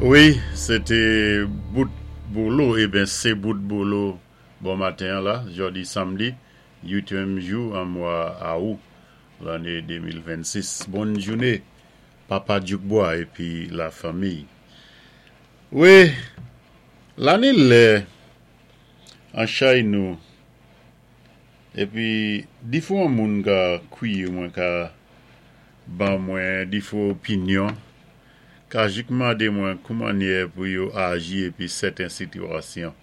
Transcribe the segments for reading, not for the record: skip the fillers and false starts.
Wi, sé té bout bolo, eben sé bout bolo bon maten an la, jòdi samdi, uityèm jou an mwa Awou, lanné 2026. Bonn jouné, Papa Dyoukbwa épi lafanmiy. Wi, la ni lè an chay nou, épi difwan moun ka kwiyé mwen ka ban mwen difwan opinyon, ka jik mandé mwen koumannyè pou yo aji épi sèten sitiwasyon.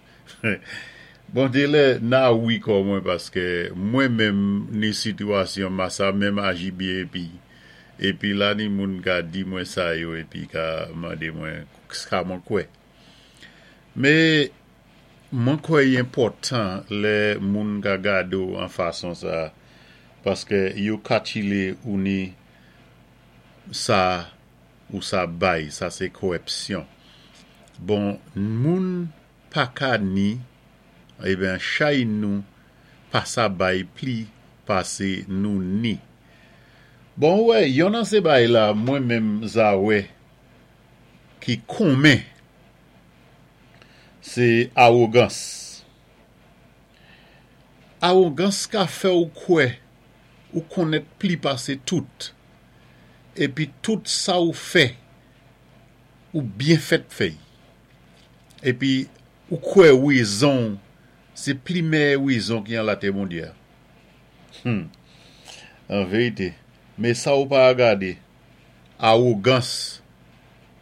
Bon delè na wi kò mwen paskè mwen menm ni sitiwasyon ma sa menm aji byen épi épi la ni moun ka di mwen sa yo épi ka mandé mwen sa mwen kwè. Mé mwen kwè i enpòtan lè moun ka gade w an fason sa paskè yo katchile ou ni sa ou sa bay sa sé kowèpsyon. Bon moun pa ka ni eben chay nou pa sa bay pli pasé nou ni. Bon ou wè yon nan sé bay la mwen menm za wè ki komen sé awogans. Awogans ka fè ou kwè ou konnèt pli pasé tout épi tout sa ou fè ou byen fèt fè y. Epi ou kwè wezon w se pli mèyè wezon ki an latè Bondye a. Hum! An verite, men sa ou pa gade, awogans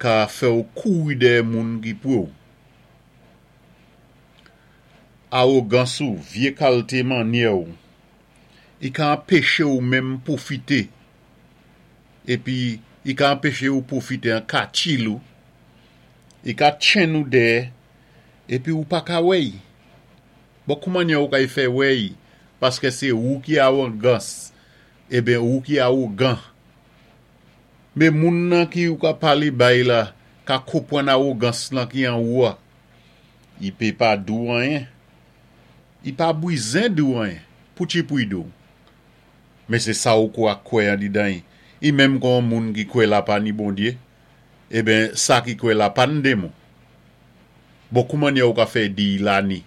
ka fè w kouri dèyè moun ki pre w. Awogans ou, vye kalte mannyè w, i ka anpeche w menm pwofite epi i ka anpeche ou pwofite an katchil ou, i ka tchenn ou dèyè epi ou pa ka wè y. Bon koumannyè ou kay fè wè y paskè sé ou ki awongans eben ou ki awogan. Men moun nan ki ou ka palé bay la ka konpwann awogans lan ki an ou a. I pe pa di w anyen. I pa bwizen di w anyen. Poutchipouy di w. Men se sa ou kwa kwè andidan y. I menm kon yon moun ki kwè la pa ni Bondye, eben sa ki kwè la pa n demon. Bon koumannyè ou ka fè di y la ni?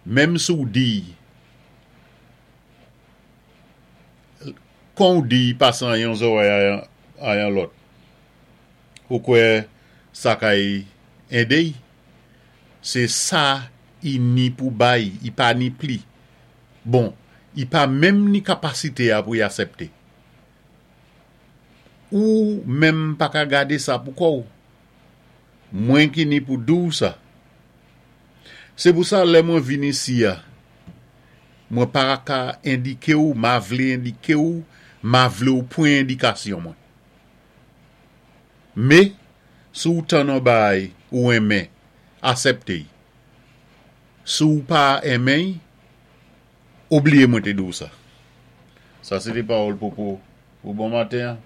Menm si w di y, kon w di y pase an yon zòrèy a yon lòt, ou kwè sa kay ede y? Se sa y ni pou bay, y pa ni pli. Bon, i pa menm ni kapasite a pou y asèpte. Ou menm pa ka gade sa pou kò w. Mwen ki ni pou di w sa. Se pou sa lè mwen vin isi a, mwen pa ka endike w, ma vle endike w, ma vle w pwan endikasyon mwen. Me, si w tann on baay ou enmen, asèpte y. Si w pa enmen y, ou bliye mwen te di w sa. Sa se te pawòl Popo pou bon maten an.